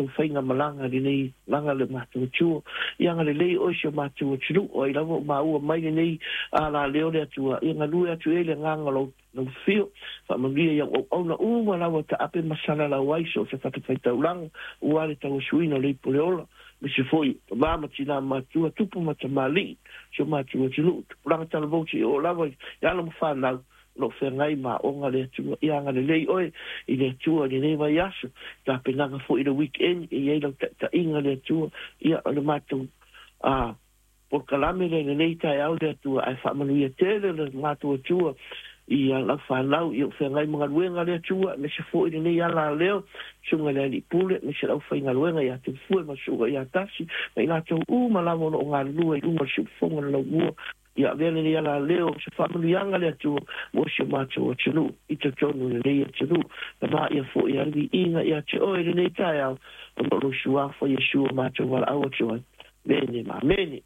matou faigamalaga i lenei laga le matou Atua. Ia agalelei oe i si o matou atunuu, o ai lava ua maua mai lenei alaleo le Atua, ia galue atu i ai le agaga o lau lau afio. Faamanuia i au auauna uma lava e taape ma salalau ai so o se fatafaitaulaga aua le tauasuina o le ipu o le ola, aemaise foi o tama ma tina matua, tupu ma tamalii, si o matou atunuu, tupulaga talavou seia oo lava i alo ma fanau o lo o feagai ma aoga le Atua. Ia agalelei oe i le Atua i lenei vaiaso, tapenaga foi i le weekend e i ai lau taitaiga le Atua. Ia o le matou a polokalame lea i lenei taeao le Atua, ae faamanuia tele le matou Atua i lau fanau i ou feagai ma galuega le Atua, aemaise foi lenei alaleo, susuga i le Alii Pule, aemaise le aufaigaluega ia Tufue ma Susuga ia Tasi, ma i latou uma lava o lo o galulue i luga o le siufofoga o le laumua. Ia avea lenei alaleo o se faamanuiaga le Atua mo si o matou atunuu i totonu o lenei atunuu. Tama ia foi a le viiga ia te oe i lenei taeao, ona o lou suafa Iesu o matou valaau atu ai. Amene ma amene.